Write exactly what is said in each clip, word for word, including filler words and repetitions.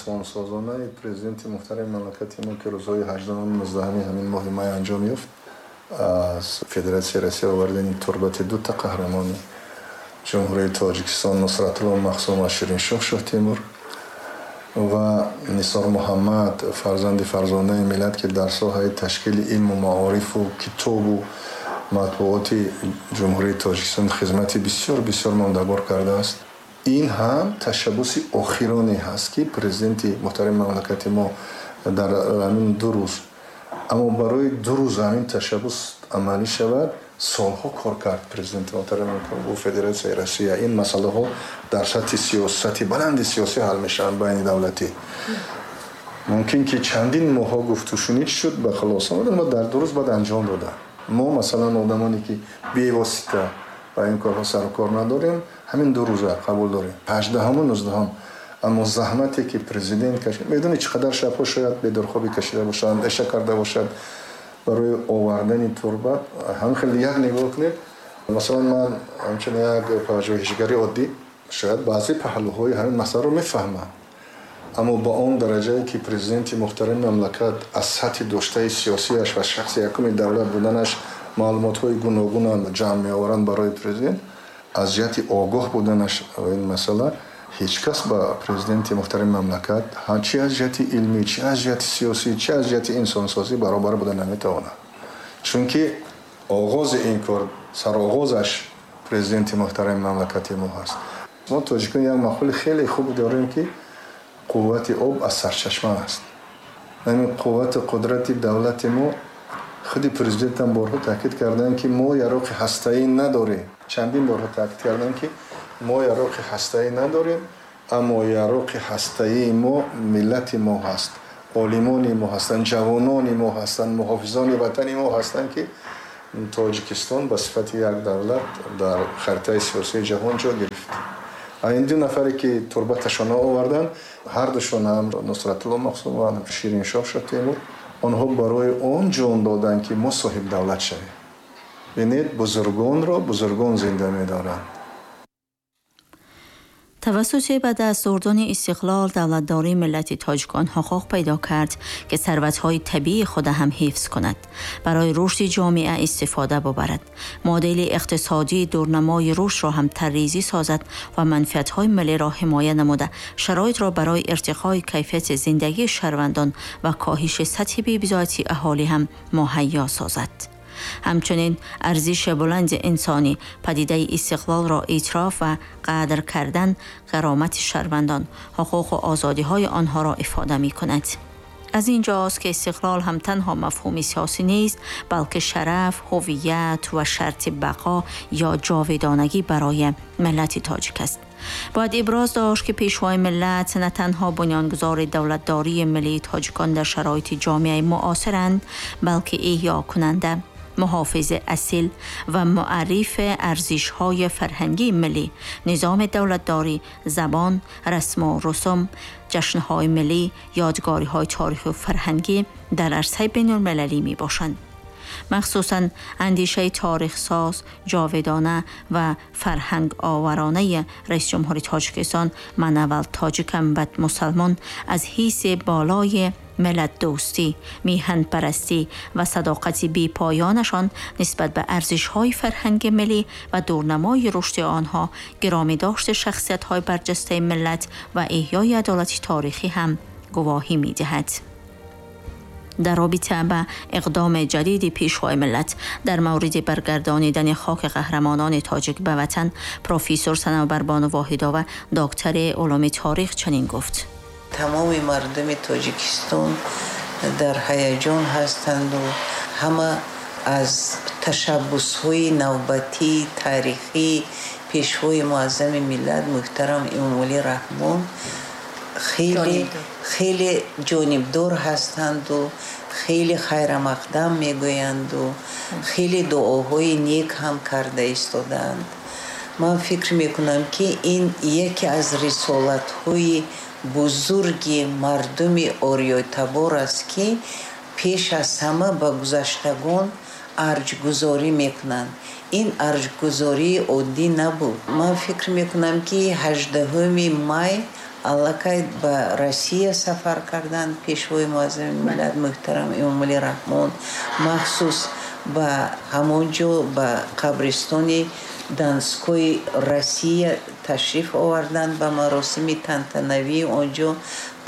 исломсозонаи президенти муҳтарами мамлакати мо, ки рӯзҳои ҳаждаҳум нуздаҳуми ҳамин моҳи май анҷом ёфт, аз Федератсияи Россия овардани турбати дута қаҳрамони Ҷумҳурии Тоҷикистон Нусратулло Махсум ва Шириншоҳ Шоҳтемур ва Нисор Муҳаммад, фарзанди фарзонаи миллат, ки дар соҳаи ташкили илму маорифу китобу матбуоти Ҷумҳурии Тоҷикистон хизмати бисёр бисёр мондагор кардааст. Ин ҳам ташаббуси охироне ҳаст, ки президенти муҳтарами мамлакати мо дар ҳамин ду рӯз, аммо барои ду рӯз ҳамин ташаббус амалӣ шавад, солҳо кор кард президенти муҳтарами бо Федератсияи Россия. Ин масъалаҳо дар сатҳи сиёсати баланди сиёсӣ ҳал мешаванд байни давлатӣ. Мумкин ки чандин моҳҳо гуфтушунид шуд, ба хулоса омаданд ва дар ду рӯз баъд анҷом доданд. Мо масалан одамоне ки бевосита ба ин корҳо сарукор надорем, ҳамин ду рӯза қабул дорем, ҳаждаҳуму нуздаҳум. Аммо заҳмате ки президент кашид, медонед чӣ қадар шабҳо шояд бедорхобӣ кашида бошад, андеша карда бошад барои овардани турбат. Ҳамин хеле як нигоҳ кунед, масалан ман ҳамчун як пажӯҳишгари оддӣ шояд баъзе паҳлӯҳои ҳамин масъаларо мефаҳмам, аммо ба он дараҷае ки президенти муҳтарами мамлакат аз сатҳи доштаи сиёсиаш ва шахси якуми давлат буданаш маълумотҳои гуногунам ҷамъ меоваранд барои президент, аз ҷиҳати огоҳ буданаш ин масъала ҳеҷ кас ба президенти муҳтарами мамлакат чи аз ҷиҳати илмӣ, чи аз ҷиҳати сиёсӣ, чи аз ҷиҳати инсонсозӣ баробар буда наметавонад. Чунки оғози ин кор, сароғозаш президенти муҳтарами мамлакати мо ҳаст. Мо тоҷикон як мақули хеле хуб дорем, ки қуввати об аз сарчашма аст. Ҳамин қуввати қудрати давлати мо, худи президентам борҳо таъкид карданд, ки мо яроқи ҳастаӣ надорем. Чандин борҳо таъкид карданд, ки мо яроқи ҳастаӣ надорем, аммо яроқи ҳастаии мо миллати мо ҳаст, олимони мо ҳастанд, ҷавонони мо ҳастанд, муҳофизони ватани мо ҳастанд, ки Тоҷикистон ба сифати як давлат дар харитаи сиёсии ҷаҳон ҷо гирифт. Ин ду нафаре ки турбаташонро оварданд, ҳардушон ҳам Нусратулло Махсум ва Шириншоҳ Шоҳтемур, онҳо барои он ҷон доданд, ки мо соҳиб давлат шавем. Бинед, бузургонро бузургон зинда медоранд. توسط به دست آوردن استقلال، دولتداری ملت تاجیکان حقوق پیدا کرد که ثروت‌های طبیعی خود هم حفظ کند، برای رشد جامعه استفاده ببرد، مدل اقتصادی دورنمای رشد را هم طرح‌ریزی سازد و منفعت‌های ملی را حمایت نموده شرایط را برای ارتقای کیفیت زندگی شهروندان و کاهش سطح بی‌بضاعتی اهالی هم مهیا سازد. همچنین ارزش بلند انسانی، پدیده استقلال را اعتراف و قدر کردن، کرامت شهروندان، حقوق و آزادی های آنها را افاده می کند. از اینجاست که استقلال هم تنها مفهوم سیاسی نیست، بلکه شرف، هویت و شرط بقا یا جاودانگی برای ملت تاجیک است. باید ابراز داشت که پیشوای ملت نه تنها بنیانگذار دولتداری ملی تاجیکان در شرایط جامعه معاصرند، بلکه احیا کننده، محافظ اصیل و معرف ارزش‌های فرهنگی ملی، نظام دولتداری، زبان، رسم و رسوم، جشن‌های ملی، یادگاری‌های تاریخی و فرهنگی در عرصه بین‌المللی می‌باشند. مخصوصاً اندیشه تاریخ ساز، جاودانه و فرهنگ آورانه رئیس جمهور تاجیکستان من اول تاجیکم بعد مسلمان از حیث بالای ملت دوستی، میهن پرستی و صداقت بی پایانشان نسبت به ارزش‌های فرهنگ ملی و دورنمای رشد آنها، گرامی داشت شخصیت‌های برجسته ملت و احیای عدالت تاریخی هم گواهی می‌دهد. در رابطه به اقدام جدید پیشوای ملت در مورد برگردانیدن خاک قهرمانان تاجیک به وطن، پروفسور صنوبربانو واحدova دکتر علوم تاریخ چنین گفت: تمام مردم تاجیکستان در هیجان هستند و همه از تشبث‌های نوبتی تاریخی پیشوای معظم ملت محترم امامعلی رحمان خیلی خیلی جانبدار هستند و خیلی خیر مقدم میگویند و خیلی دعاهای نیک هم کرده ایستادند. من فکر میکنم که این یکی از رسالت‌های بزرگ مردم آریای‌تبار است که پیش از همه به گذشتگان ارجگذاری میکنند. این ارجگذاری عادی نبود. من فکر میکنم که هجدهم می Аллакай ба Россия сафар карданд Пешвои муаззами миллат муҳтарам Эмомалӣ Раҳмон, махсус ба ҳамон ҷо ба қабристони Донской Россия ташриф оварданд. Ба маросими тантанавии он ҷо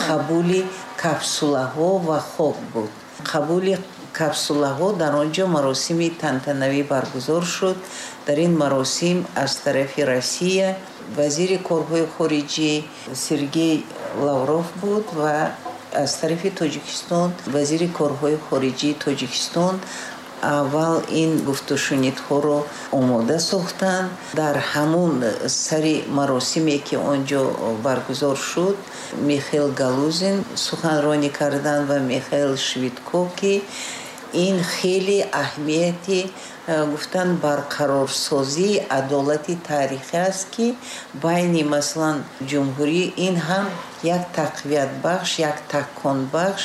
қабули капсулаҳо ва хок буд. Қабули капсулаҳо дар он ҷо маросими тантанавӣ баргузор шуд. Дар ин маросим аз тарафи Россия вазири корҳои хориҷӣ Сергей Лавров буд ва аз тарафи Тоҷикистон вазири корҳои хориҷии Тоҷикистон. Аввал ин гуфтушунидҳоро омода сохтанд. Дар ҳамун сари маросиме ки он ҷо баргузор шуд, Михаил Галузин суханронӣ карданд ва Михаил Швидко, ки ин хеле аҳамияти гуфтан барқарорсозии адолати таърихӣ аст, ки байни масалан ҷумҳурӣ ин ҳам як тақвиятбахш, як таконбахш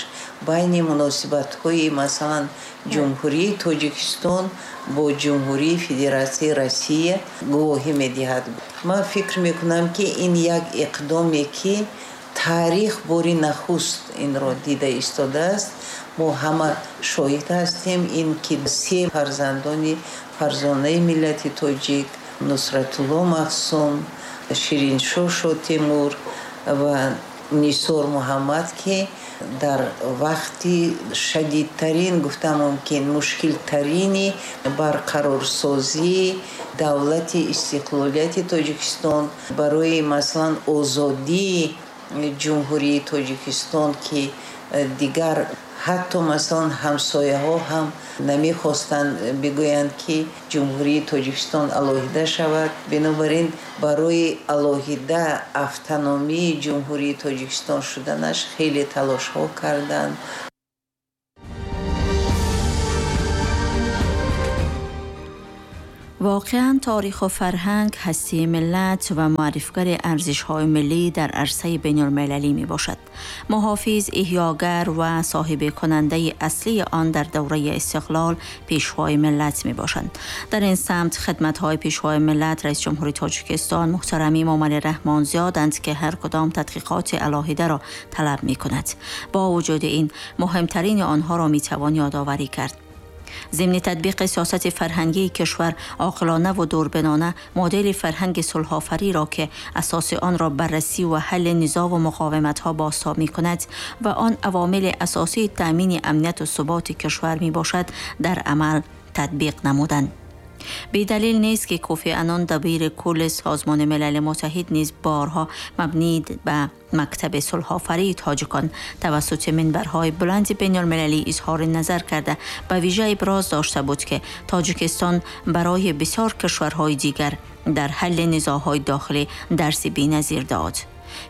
байни муносибатҳои масалан ҷумҳурии Тоҷикистон бо ҷумҳурии Федератсияи Россия гувоҳӣ медиҳад. Ман фикр мекунам, ки ин як иқдоме ки таърих бори нахуст инро дида истодааст. Мо ҳама шоҳид ҳастем ин ки се фарзандони фарзонаи миллати тоҷик Нусратулло Махсум, Шириншоҳ Шотемур ва Нисор Муҳаммад, ки дар вақти шадидтарин, гуфта мумкин, мушкилтарини барқарорсозии давлати истиқлолияти Тоҷикистон барои масалан озодии ҷумҳурии Тоҷикистон, ки дигар ҳатто масалан ҳамсояҳо ҳам намехостанд бигӯянд, ки ҷумҳурии Тоҷикистон алоҳида шавад. Бинобар ин барои алоҳида автономии ҷумҳурии Тоҷикистон шуданаш хеле талошҳо карданд. واقعا تاریخ و فرهنگ هستی ملت و معرفگر ارزش‌های ملی در عرصه بین‌المللی می‌باشد. محافظ، احیاگر و صاحب کننده اصلی آن در دوره استقلال پیشوای ملت می‌باشند. در این سمت خدمت‌های پیشوای ملت رئیس جمهوری تاجیکستان محترم امامعلی رحمان زیادند که هر کدام تحقیقات علاهده را طلب می‌کند. با وجود این مهمترین آنها را می‌توان یادآوری کرد. ضمن تطبیق سیاست فرهنگی کشور عاقلانه و دوربینانه مدل فرهنگ صلح‌آفری را که اساس آن را بررسی و حل نزاع و مقاومت‌ها بازتاب می‌کند و آن عوامل اساسی تأمین امنیت و ثبات کشور می‌باشد در عمل تطبیق نمودند. بی دلیل نیست که کوفی عنان دبیر کل سازمان ملل متحد نیز بارها مبنی به مکتب صلح‌آفری تاجیکان توسط منبرهای بلند بین‌المللی اظهار نظر کرده به ویژه ابراز داشته بود که تاجیکستان برای بسیار کشورهای دیگر در حل نزاع‌های داخلی درس بی‌نظیر داد.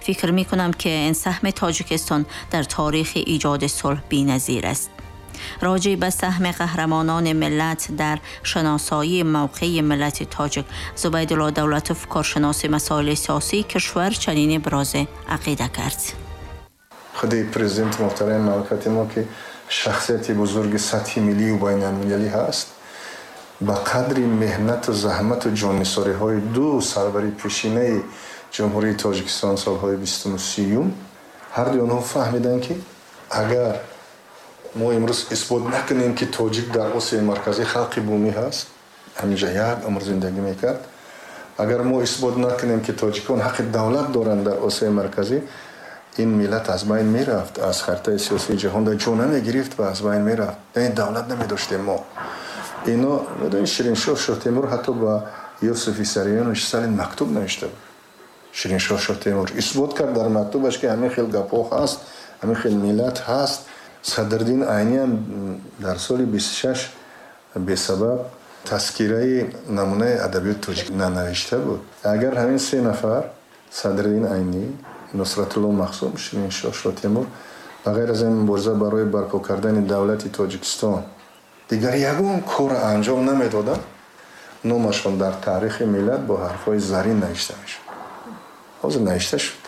فکر می‌کنم که این سهم تاجیکستان در تاریخ ایجاد صلح بی‌نظیر است. راجع به سهم قهرمانان ملت در شناسایی موقع ملت تاجیک، زبیدالله دولتوف کارشناس مسائل سیاسی کشور چنین ابراز عقیده کرد. خود پرزیدنت محترم مملکت ما که شخصیت بزرگ سطح ملی و بین المللی هست، با قدر مهنت و زحمت و جان‌نثاری های دو سربری پیشینه جمهوری تاجیکستان سالهای بیستم و سیوم، هر دوی آنها فهمیدن که اگر мо имрӯз исбот накунем, ки тоҷик дар Осиёи Марказӣ халқи бумӣ ҳаст, ҳаминҷа як умр зиндагӣ мекард, агар мо исбот накунем, ки тоҷикон ҳаққи давлат доранд дар Осиёи Марказӣ, ин миллат аз байн мерафт, аз харитаи сиёсии ҷаҳон дар ҷо намегирифт ва аз байн мерафт. Яъне давлат намедоштем мо. Ино медонед, Шириншоҳ Шоҳтемур ҳатто ба Юсуф Виссарионович Сталин мактуб навишта буд. Шириншоҳ Шоҳтемур исбот кард дар мактубаш, ки ҳамин хел гапҳо ҳаст, ҳамин хел миллат ҳаст. Садриддин Айнӣ ҳам дар соли бисту шаш бесабаб тазкираи намунаи адабиёти тоҷик нанавишта буд. Агар ҳамин се нафар, Садриддин Айнӣ, Нусратулло Махсум, Шириншоҳ Шоҳтемур, ба ғайр аз ин мубориза барои барпо кардани давлати Тоҷикистон дигар ягон кор анҷом намедоданд, номашон дар таърихи миллат бо ҳарфҳои зарин навишта мешуд. Ҳозир навишта шуд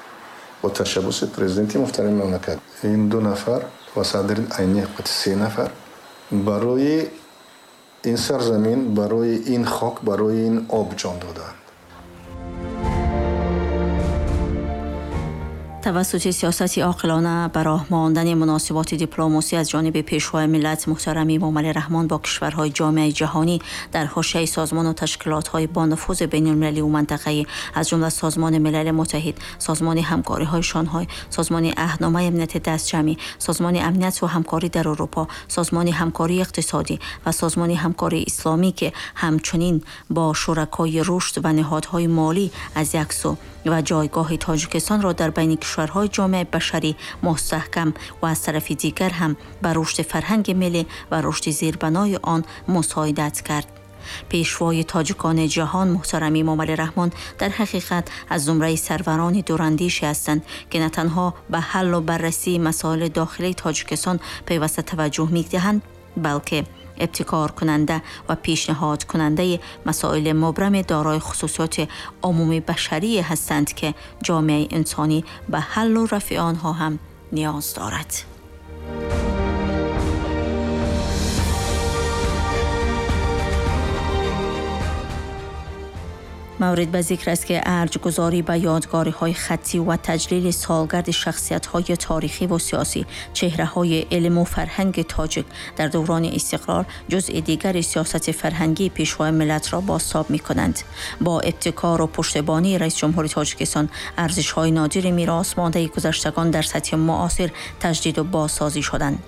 бо ташаббуси президенти муҳтарами мамлакат. Ин ду нафар ва Садриддин Айнӣ се нафар барои ин сарзамин, барои ин хок, барои ин об ҷон доданд. توسط سیاست عاقلانه براه ماندن مناسبات دیپلماسی از جانب پیشوای ملت محترم امامعلی رحمان با کشورهای جامعه جهانی در حاشیه سازمان و تشکیلات‌های با نفوذ بین‌المللی و منطقه‌ای از جمله سازمان ملل متحد، سازمان همکاری‌های شانهای، سازمان عهدنامه امنیت دستجمعی، سازمان امنیت و همکاری در اروپا، سازمان همکاری اقتصادی و سازمان همکاری اسلامی که همچنین با شرکای رشد و نهادهای مالی از یک سو و جایگاه تاجیکستان را در بین کشورهای جامعه بشری مستحکم و از طرف دیگر هم بر رشد فرهنگ ملی و رشد زیربنای آن مساعدت کرد. پیشوای تاجیکان جهان محترم امامعلی رحمان در حقیقت از زمره سروران دوراندیشی هستند که نه تنها به حل و بررسی مسائل داخلی تاجیکستان پیوسته توجه می‌دهند، بلکه ابتکار کننده و پیشنهاد کننده مسائل مبرم دارای خصوصیات عمومی بشری هستند که جامعه انسانی به حل و رفع آنها هم نیاز دارد. مورد به ذکر است که ارجگذاری به یادگاری‌های خطی و تجلیل سالگرد شخصیت‌های تاریخی و سیاسی، چهره‌های علم و فرهنگ تاجیک در دوران استقلال جزء دیگر سیاست فرهنگی پیشوای ملت را بازتاب می‌کنند. با ابتکار و پشتیبانی رئیس جمهور تاجیکستان، ارزش‌های نادر میراث مانده گذشتگان در سطح معاصر تجدید و بازسازی شدند.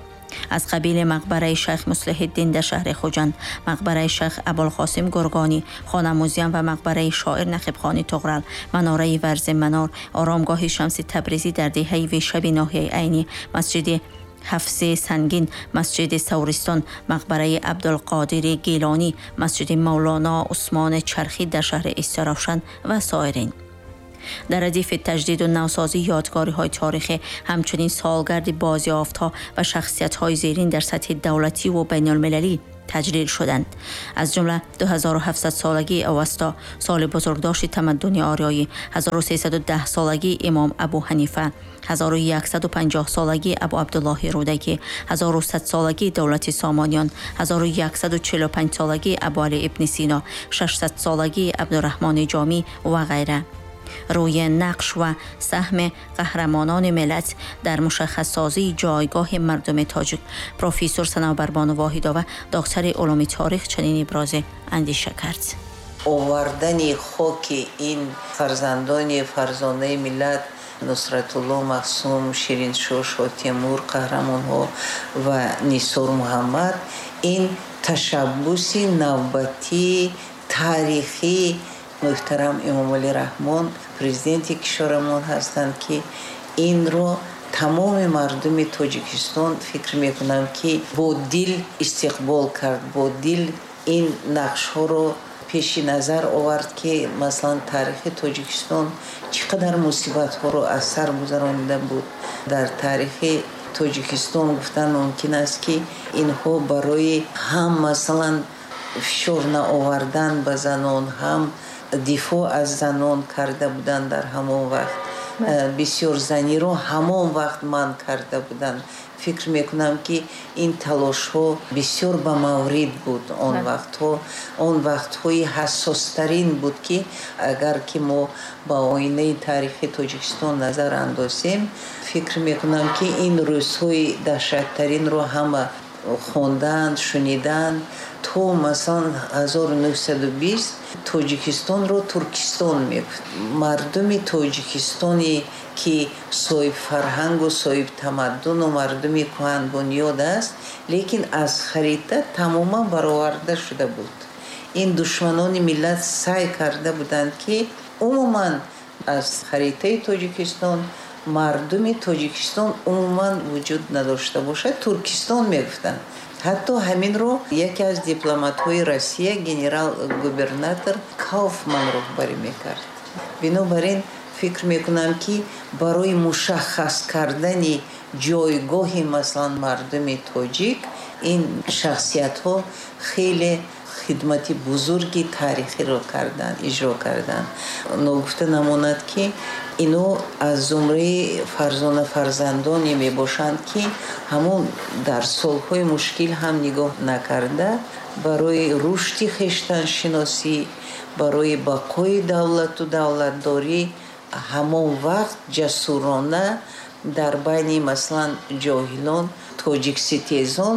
از قبیل مقبره شیخ مصلح الدین در شهر خوجند، مقبره شیخ ابوالقاسم گرگانی، خانه موزیم و مقبره شاعر نخیبخانی طغرل، مناره ورز منار، آرامگاه شمس تبریزی در دهه ویشب ناحیه عینی، مسجد حفظ سنگین، مسجد سورستان، مقبره عبدالقادر گیلانی، مسجد مولانا عثمان چرخی در شهر استرافشان و سایرین. در ردیف تجدید و نوسازی یادگاری‌های تاریخی، همچنین سالگرد بازیافت‌ها و شخصیت‌های زیرین در سطح دولتی و بین‌المللی تجلیل شدند. از جمله دو هزار و هفتصد سالگی اوستا، سال بزرگداشت تمدن آریایی، هزار و سیصد و ده سالگی امام ابو حنیفه، هزار و صد و پنجاه سالگی ابو عبدالله رودکی، هزار و صد سالگی دولت سامانیان، هزار و صد و چهل و پنج سالگی ابو علی ابن سینا، ششصد سالگی عبدالرحمن جامی و غیره. روی نقش و سهم قهرمانان ملت در مشخص سازی جایگاه مردم تاجیک، پروفسور صنوبربانو واحدova دکتر علوم تاریخ چنین ابراز اندیشه کرد. آوردن خاک این فرزندان فرزانه ملت، نصرت الله مقسوم، شیرینشاه شاه تیمور، قهرمانها و نثار محمد، این تشبث نوبتی تاریخی محترم امامعلی رحمان президенти кишварамон ҳастанд, ки инро тамоми мардуми Тоҷикистон фикр мекунам, ки бо дил истиқбол кард, бо дил ин нақшҳоро пеши назар овард, ки масалан таърихи Тоҷикистон чӣ қадар мусибатҳоро аз сар гузаронида буд. Дар таърихи Тоҷикистон гуфтан мумкин аст, ки инҳо барои ҳам масалан фишор наовардан ба занон, ҳам дифоъ аз занон карда буданд. Дар ҳамон вақт бисёр заниро ҳамон вақт манъ карда буданд. Фикр мекунам, ки ин талошҳо бисёр ба маврид буд. Он вақтҳо он вақтҳои ҳассостарин буд, ки агар ки мо ба оинаи таърихи Тоҷикистон назар андозем, фикр мекунам, ки ин рӯзҳои даҳшаттаринро ҳама хонданд, шуниданд. То масалан ҳазору нӯҳсаду бист Тоҷикистонро Туркистон мегуфт. Мардуми Тоҷикистоне ки соҳибфарҳангу соҳибтамаддуну мардуми кӯҳанбунёд аст, лекин аз харита тамоман бароварда шуда буд. Ин душманони миллат саъй карда буданд, ки умуман аз харитаи Тоҷикистон мардуми Тоҷикистон умуман вуҷуд надошта бошад, Туркистон мегуфтанд. Ҳатто ҳаминро яке аз дипломатҳои Россия, генерал-губернатор Кауфман роҳбарӣ мекард. Бинобар ин фикр мекунам, ки барои мушаххас кардани ҷойгоҳи масалан мардуми тоҷик ин шахсиятҳо хеле хидмати бузурги таърихиро карданд, иҷро карданд. Ногуфта намонад, ки ино аз зумраи фарзона фарзандоне мебошанд, ки ҳамон дар солҳои мушкил ҳам нигоҳ накарда барои рушди хештаншиносӣ, барои бақои давлату давлатдорӣ Ҳамон вақт ҷасурона дар байни масалан ҷоҳилон, тоҷикситезон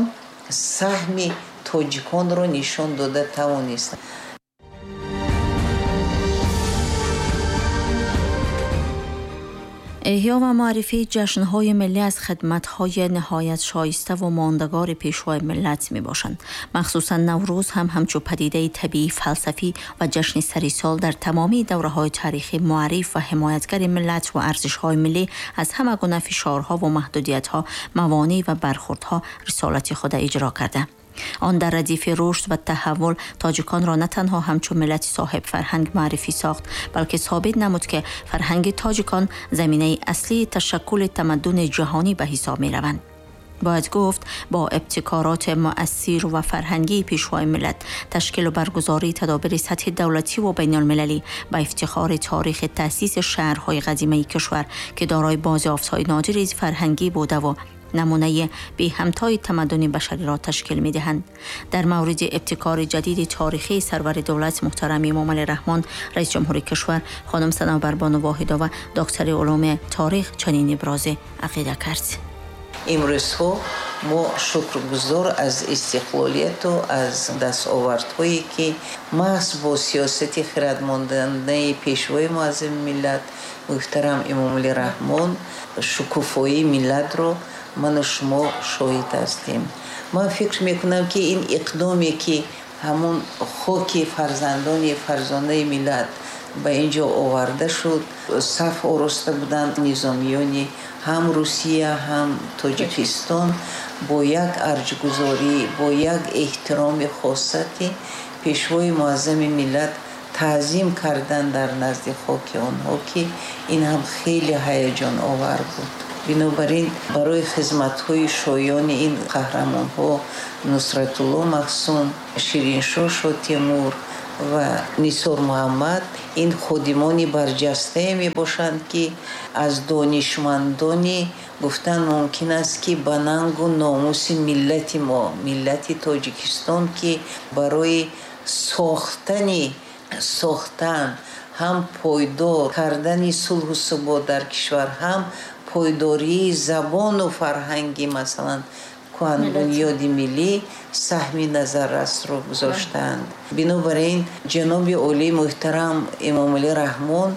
саҳми тоҷиконро нишон дода тавонистанд. احیا و معرفی جشن‌های ملی از خدمت‌های نهایت شایسته و ماندگار پیشوای ملت می‌باشند. مخصوصاً نوروز هم همچو پدیده طبیعی، فلسفی و جشن سری سال در تمامی دوره‌های تاریخی معرف و حمایتگر ملت و ارزش‌های ملی از همه گونه فشارها و محدودیت‌ها، موانع و برخوردها رسالت خود اجرا کرده. آن در ردیف رشد و تحول تاجیکان را نه تنها همچون ملت صاحب فرهنگ معرفی ساخت، بلکه ثابت نمود که فرهنگ تاجیکان زمینه اصلی تشکل تمدن جهانی به حساب می روند. باید گفت با ابتکارات مؤثر و فرهنگی پیشوای ملت، تشکیل و برگزاری تدابیر سطح دولتی و بین المللی به افتخار تاریخ تأسیس شهرهای قدیمی کشور که دارای بازیافت‌های نادری فرهنگی بوده و نمونه بی همتای تمدن بشری را تشکیل می دهند. در مورد ابتکار جدید تاریخی سرور دولت محترم امام علی رحمان رئیس جمهور کشور، خانم صنوبر بانو واحدova دکتر علوم تاریخ چنین ابراز عقیده کرد. امروزها ما شکرگزار از استقلالیت و از دستاوردهایی که محض با سیاست خردمندانه پیشوای معظم ملت محترم امام علی رحمان شکوفایی ملت را من و شما شاهد هستیم. من فکر میکنم که این اقدامی که همون خاک فرزندان فرزانه ملت به اینجا آورده شد، صف آراسته بودند نظامیان هم روسیه هم تاجیکستان، با یک ارجگذاری، با یک احترام خاصی پیشوای معظم ملت تعظیم کردن در نزد خاک آنها که این هم خیلی هیجان آور بود. بنابراین برای خدمت‌های شایان این قهرمان‌ها نصرت‌الله مخصوم، شیرینشاه شاتیمور و نثار محمد، این خادمان برجسته می باشند که از دانشمندانی گفتن ممکن است که به ننگ و ناموس ملت ما، ملت تاجیکستان که برای ساختن ساختن هم پایدار کردن صلح و ثبات در کشور، هم پایداری زبان و فرهنگی مثلا کهن بنیاد ملی سهمی نظررس رو گذاشتند. بنابراین جناب عالی محترم امام علی رحمان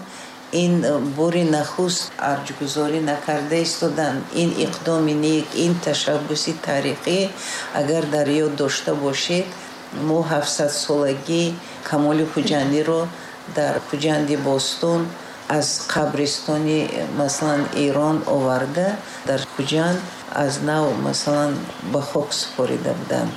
این بار نخست ارجگذاری نکرده ایستادند. این اقدام نیک، این تشبث تاریخی اگر در یاد داشته باشید، ما هفتصد سالگی کمال خجندی رو در خجند باستان از قبرستان مثلا ایران آورده در خجند از نو مثلا به خاک سپاریده بودند.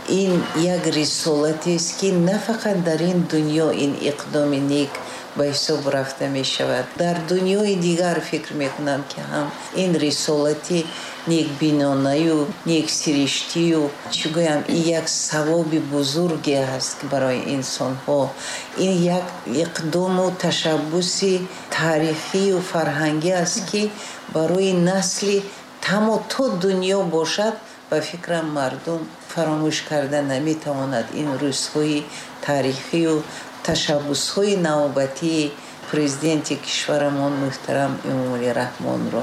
این یک رسالتی است که نه فقط در این دنیا این اقدام نیک به حساب رفته می شود، در دنیای دیگر فکر می کنم که هم این رسالتی نیک بینانه و نیک سرشتی و چی گویم، این یک ثواب بزرگی هست برای انسان ها. این یک اقدام و تشبث تاریخی و فرهنگی است که برای نسل تمام تا دنیا باشد و فکرم مردم فراموش کرده نمی تواند این روزهای تاریخی و تشبث‌های نوبتی پرزیدنت کشورمان محترم امام علی رحمان را.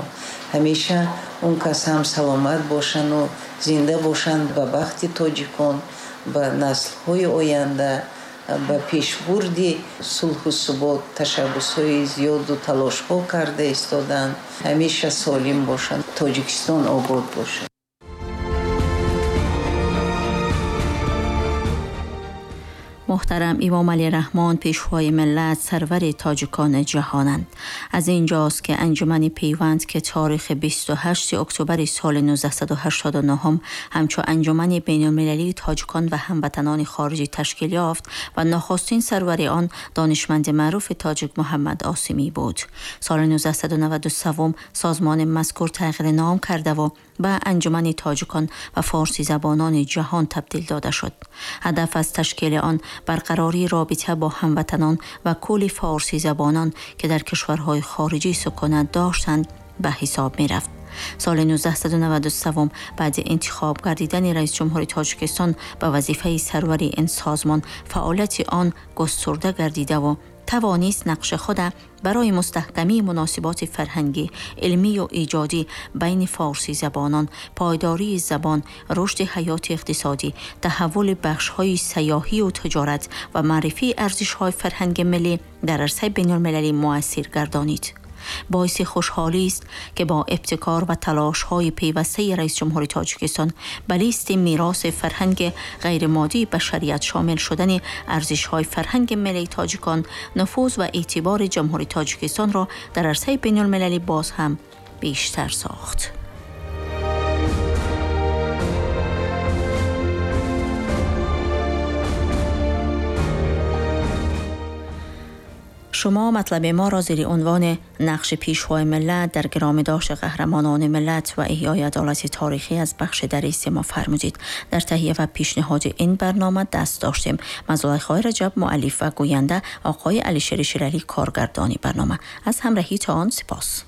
همیشه اون کس هم سلامت باشند و زنده باشند به بخت تاجیکان، به نسل‌های آینده، به پیشبرد صلح و ثبات تشبث‌های زیاد و تلاش‌ها کرده ایستادند. همیشه سالم باشند، تاجیکستان آباد باشد. محترم امام علی رحمان پیشوای ملت، سرور تاجیکان جهانند. از اینجاست که انجمن پیوند که تاریخ بیست و هشتم اکتبر سال نوزده هشتاد و نه همچون انجمن بین‌المللی تاجیکان و هموطنان خارجی تشکیل یافت و نخستین سرور آن دانشمند معروف تاجیک محمد آسمی بود. سال نوزده نود و سه سازمان مذکور تغییر نام کرده و به انجمن تاجیکان و فارسی زبانان جهان تبدیل داده شد. هدف از تشکیل آن برقراری رابطه با هموطنان و کل فارسی زبانان که در کشورهای خارجی سکونت داشتند به حساب می رفت. سال نوزده نود و سه بعد انتخاب گردیدن رئیس جمهور تاجیکستان به وظیفه سروری این سازمان، فعالیت آن گسترده گردیده و توانست نقش خود برای مستحکمی مناسبات فرهنگی، علمی و ایجادی بین فارسی زبانان، پایداری زبان، رشد حیات اقتصادی، تحول بخش‌های سیاحی و تجارت و معرفی ارزش‌های فرهنگ ملی در عرصه بین‌المللی مؤثر گردانید. باعث خوشحالی است که با ابتکار و تلاش‌های پیوسته رئیس جمهور تاجیکستان به لیست میراث فرهنگ غیرمادی بشریت شامل شدن ارزش‌های فرهنگ ملی تاجیکان، نفوذ و اعتبار جمهوری تاجیکستان را در عرصه بین‌المللی باز هم بیشتر ساخت. شما مطلب ما را زیر عنوان نقش پیشوای ملت در گرامیداشت قهرمانان ملت و احیای عدالت تاریخی از بخش دری ما فرمودید. در تهیه و پیشنهاد این برنامه دست داشتیم. مزلای رجب مؤلف و گوینده، آقای علیشیر شیرعلی کارگردانی برنامه. از همراهی تا آن سپاس.